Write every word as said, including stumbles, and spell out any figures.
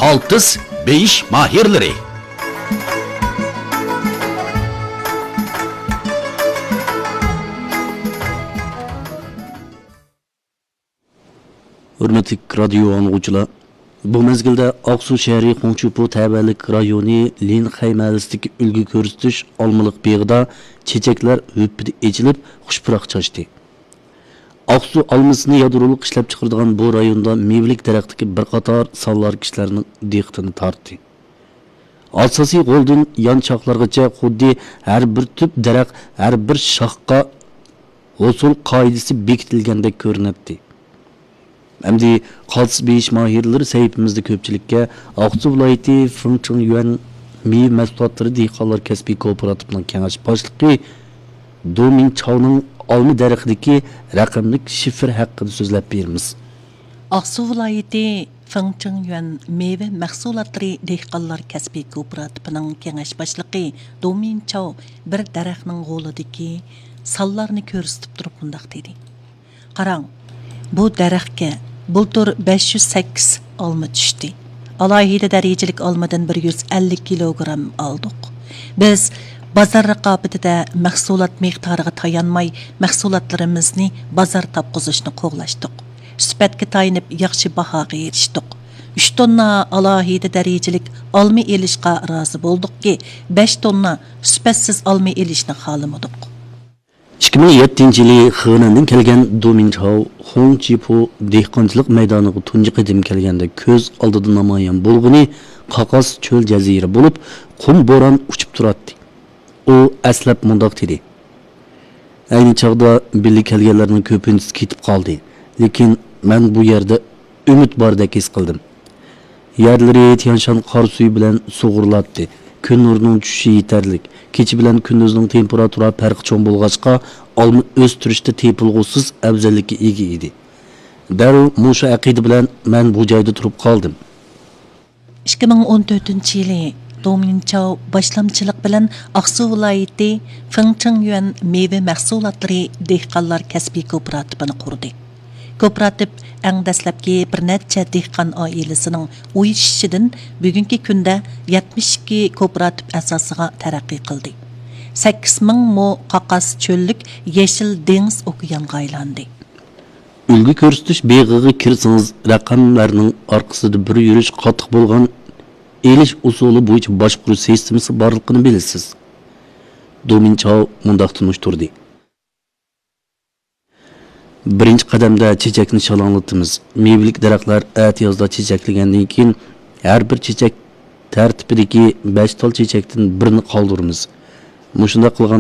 ئالتىس بېيىش ماھىرلىرى. ھۆرمەتلىك رادىيو ئاڭلىغۇچىلار، بۇ مەزگىلدە ئاقسۇ شەھىرى خۇڭچىپۇ تەۋەلىك رايونى لىنخەي مەھەللىسىدىكى ئۈلگە كۆرسىتىش ئالمىلىق بېغىدا چېچەكلەر ھۈپپىدە ئېچىلىپ، خۇش پۇراق چاچتى. ئاقسۇ ئالمىسىنى يادرولۇق ئىشلەپچىقىرىدىغان بۇ رايوندا مېۋىلىك دەرەختىكى بىر قاتار سانلار كىشىلەرنىڭ دىققىتىنى تارتتى. ئاساسىي غولدىن يانچاقلارغىچە خۇددى ھەر بىر تۈپ دەرەخ، ھەر بىر شاخقا ھوسۇل قائىدىسى بېكىتىلگەندەك كۆرۈنەتتى. ئەمدى قالتىس بېيىش ماھىرلىرى سەھىپىمىزدە كۆپچىلىككە ئاقسۇ ۋىلايىتى فېڭچىڭيۈەن مېۋە مەھسۇلاتلىرى دېھقانلار كەسپىي كوپىراتىپىنىڭ كېڭەش باشلىقى دو مىنچاۋنىڭ ئالما دەرىخىدىكى رەقەملىك شىفىر ھەققىدە سۆزلەپ بېرىمىز. ئاقسۇ ۋىلايىتى فېڭچىڭيۈەن مېۋە مەھسۇلاتلىرى دېھقانلار كەسپىي كوپىراتىپىنىڭ كېڭەش باشلىقى دو مىنچاۋ بىر دەرەخنىڭ غولىدىكى سانلارنى كۆرسىتىپ تۇرۇپ مۇنداق دېدى. قاراڭ، بۇ دەرەخكە بۇلتۇر بەش يۈز سەككىز ئالما چۈشتى. ئالاھىدە دەرىجىلىك ئالمىدىن بىر يۈز ئەللىك كىلوگرام ئالدۇق. بىز بازار رىقابىتىدە مەھسۇلات مىقدارىغا تايانماي، مەھسۇلاتلىرىمىزنى بازار تاپقۇزۇشنى قوغلاشتۇق. سۈپەتكە تايىنىپ ياخشى باھاغا ئېرىشتۇق. ئۈچ توننا ئالاھىدە دەرىجىلىك ئالما ئېلىشقا رازى بولدۇقكى، بەش توننا سۈپەتسىز ئالما ئېلىشنى خالىمىدۇق. ئىككى مىڭ يەتتىنچى يىلى خېنەندىن كەلگەن دو مىنچاۋ خۇڭ چىپۇ دېھقانچىلىق مەيدانىغا تۇنجى قېتىم كەلگەندە كۆز ئالدىدا نامايان بولغىنى قاقاس چۆل جەزىرە بولۇپ، قۇم بوران ئۇچۇپ تۇراتتى. ئۇ ئەسلەپ مۇنداق دېدى: ئەينى چاغدا بىللە كەلگەنلەرنىڭ كۆپىنچىسى كېتىپ قالدى، لېكىن مەن بۇ يەردە ئۈمىد باردەك ھېس قىلدىم. يەرلىرى تيانشان قار سۈيى بىلەن سۇغۇرۇلاتتى. كۈن نۇرىنىڭ چۈشۈشى يېتەرلىك. كېچە بىلەن كۈندۈزنىڭ تېمپېراتۇرا پەرقى چوڭ بولغاچقا، ئالما ئۆستۈرۈشتە تېپىلغۇسىز ئەۋزەللىككە ئىگە ئىدى. دەررۇ مۇشۇ ئەقىدە بىلەن مەن بۇ جايدا تۇرۇپ قالدىم. ئىككى مىڭ ئون تۆتىنچى يىلى دو مىنچاۋ باشلامچىلىق بىلەن ئاقسۇ ۋىلايىتى فېڭچىڭيۈەن مېۋە مەھسۇلاتلىرى دېھقانلار كەسپىي كوپىراتىپىنى قۇردى. كوپىراتىپ ئەڭ دەسلەپكى بىر نەچچە دېھقان ئائىلىسىنىڭ ئۇيۇشۇشىدىن بۈگۈنكى كۈندە يەتمىش ئىككى كوپىراتىپ ئاساسىغا تەرەققىي قىلدى. سەككىز مىڭ مو قاقاس چۆللۈك يېشىل دېڭىز ئوكيانغا ئايلاندى. ئۈلگە كۆرسىتىش بېغىغا كىرسىڭىز، رەقەملەرنىڭ ئارقىسىدا بىر يۈرۈش قاتتىق بولغان ئېلىش ئۇسۇلى بويىچە باشقۇرۇش سىستېمىسى بارلىقىنى بىلىسىز. دو مىنچاۋ مۇنداق تونۇشتۇردى: بىرىنچى قەدەمدە چېچەكنى شالاڭلىتىمىز. مېۋىلىك دەرەخلەر ئەتىيازدا چېچەكلىگەندىن كېيىن، ھەر بىر چېچەك تەرتىپىدىكى بەش تال چېچەكتىن بىرنى قالدۇرىمىز. مۇشۇنداق قىلغان